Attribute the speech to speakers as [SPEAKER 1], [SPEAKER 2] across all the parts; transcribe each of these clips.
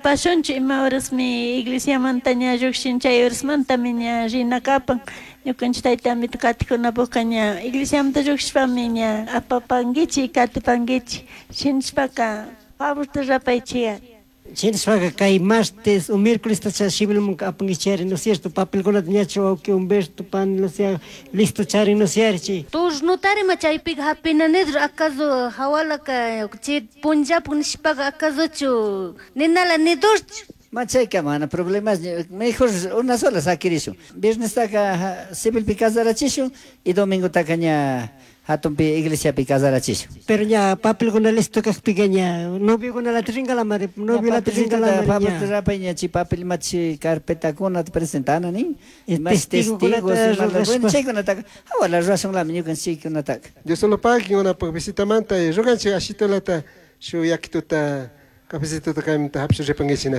[SPEAKER 1] Apashunchu ima horasmi iglesiamanta ña llukshin chay horasmantami ña rina kapan. Ñukanchik tayta amito katikunapukka ña iglesiamanta llukshishpami ña apapankichik katipankichik shinashpaka favorta rurapaychik.
[SPEAKER 2] Shinashpaka kay martes o miércoles civilmanka apankichari, ¿no es cierto? Papelkunata ñachu wawki Humberto, pani Lucia listo charin, ¿no es cierto?
[SPEAKER 3] Turnutari chaypiqa hapina nidro acaso hawalaka chay punllapuk nishpaqa acasochu ninala nidurchu.
[SPEAKER 4] Machayka mana problemas, mejor una sola sakirishun. Viernestaka civilpi casarachishun y domingotaka ña hatunpi iglesiapi casarachishun.
[SPEAKER 2] Pero ña papelkuna listo kakpika ña noviokunalata rinkalamari, noviolata rinkalamari
[SPEAKER 4] ña. Rapay ña chi papel imachi carpetakunata presentana nin.
[SPEAKER 2] Testigokunata
[SPEAKER 4] rurashpa. Chaykunataka hawala rurashunlami ñukanchik chaykunataka.
[SPEAKER 5] Dios solo pagui unapuk visitamanta y ruganchik ashitulata shu yakituta cafecituta kaymanta hapshu ripankichik.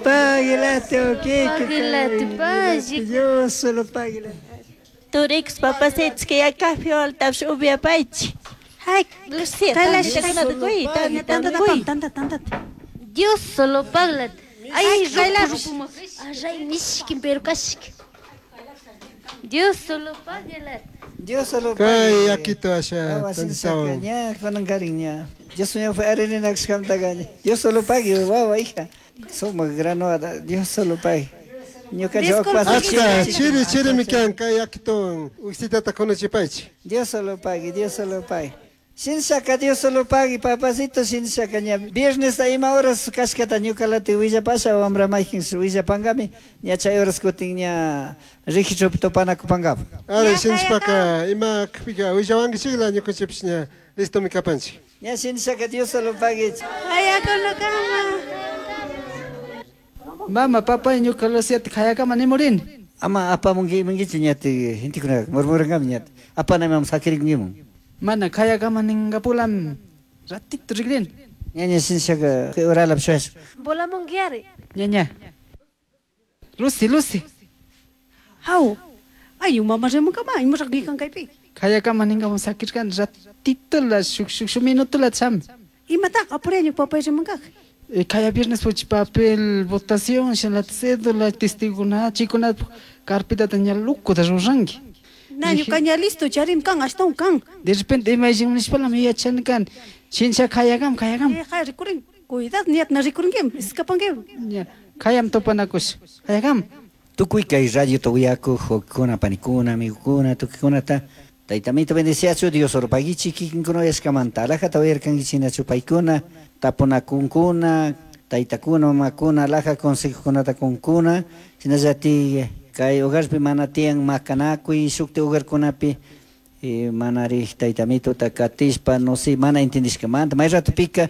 [SPEAKER 2] Paguelate, okay.
[SPEAKER 3] Paguelate, pagui.
[SPEAKER 2] Dios solo paguelate.
[SPEAKER 1] Turix papacitos que ya café altash upiapaychik.
[SPEAKER 3] Ay,
[SPEAKER 1] Lucía, tantitakunata quy, tantitata quy.
[SPEAKER 6] Tanta, tanta.
[SPEAKER 3] Dios solo paglate. Ay, rupu, Array mishkin pero kashki. Dios solo paguelate.
[SPEAKER 4] Dios solo
[SPEAKER 5] Kay yakito asha tantitawan.
[SPEAKER 4] Ña kunan ña. Dios mío fue arena kashkamtaka. Dios solo pague, wawa hija. Sumak granoada, Dios solo pague. Ñuka
[SPEAKER 5] Achka chiri chirimi kan kay yakituwan uksitata kunuchipaychik.
[SPEAKER 4] Dios solo pague, Dios solo pague. Shinshaka Dios solo pague, papacito shinshaka ña. Viernes ima horas kashkata ñukalati willapasha wambra mayjin willapangami ña chay horas kutin ña registropi topanakupankapa.
[SPEAKER 5] Ari shinshpaka ima kpika willawankichikla ñukanchikpish ña listomi kapanchik.
[SPEAKER 4] Ña shinshaka Dios solo pague.
[SPEAKER 6] Ayakunakama.
[SPEAKER 7] Mama, papá, ñuka Luciata kayakama nimurini.
[SPEAKER 4] Ama apamunki imankichu ñati gentekunaka murmurankami ñati. Apana imam sakirikunkiman.
[SPEAKER 7] Mana kayakama ninkapulam ratito rikrini.
[SPEAKER 4] Ñaña shinshaka uralap shuyash.
[SPEAKER 3] Volamunkiari.
[SPEAKER 7] Ñaña. Lucy, Lucy.
[SPEAKER 6] Haw. Ay, mama rimankama, imaraq nikan kaypi.
[SPEAKER 7] Kayakama ninkamun sakirkani ratitola shuk shuk shuk minutola cham.
[SPEAKER 6] Imataq apureño papay rimankaq.
[SPEAKER 7] Kaya viernes puchi papel votación shinalata cédula testigokuna chaykuna carpetata ña locuta ruranki.
[SPEAKER 6] Na ñuka ña listo charim kan ashtawan kan.
[SPEAKER 7] De repente ima nishpalami yachani kan. Shincha kayakam kayakam.
[SPEAKER 6] Kay rikurin. Cuidado ñat na rikurinkim, escapankim.
[SPEAKER 7] Ña kayam topanakush. Kayakam.
[SPEAKER 4] Tukuy kay radio uyakuq wawkikuna panikuna amigokuna tukuykunata Taytamito bendeciachu Dios orpaguichik kikinkuna uyashkamanta alajata uyarkankichik nachu paykuna tapunakunkuna taytakuna mamakuna alaja consejokunata kunkuna shinallatik kay hogarpi mana tiyan makanakuy shukti hogarkunapi manari taytamitota katishpa no sé mana entendishkamanta may ratopika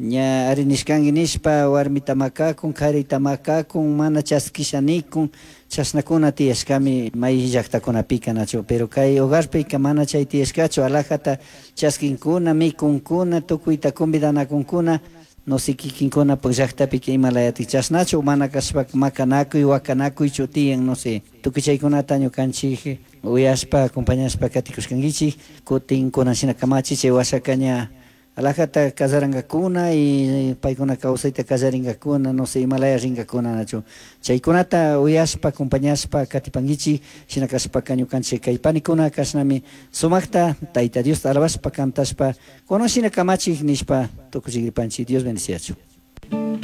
[SPEAKER 4] ña ari nishkanki nishpa warmita makakun karita makakun mana chaskisha nikun chashnakuna tiyashkami may llaktakunapika nachu pero kay hogarpika mana chay tiyashkachu alajata chaskinkuna mikunkuna tukuyta convidanakunkuna no sé kikinkunapak llaktapika imalayatik chashnachu mana kashpaka makanakuy wakanakuychu tiyan no sé tukuy chaykunata ñukanchik uyashpa acompañashpa katikushkankichik kutin kunan shina kamachi chay washaka ña alajata kasarankakuna y paykuna kawsayta kallarinkakuna no sé imalaya rinkakuna nachu chaykunata uyashpa acompañashpa katipankichik shina kashpaka ñukanchik kay panikuna kashnami sumakta Tayta Diosta alabashpa cantashpa kunan shina kamachik nishpa tukuchikripanchik. Dios bendeciachu.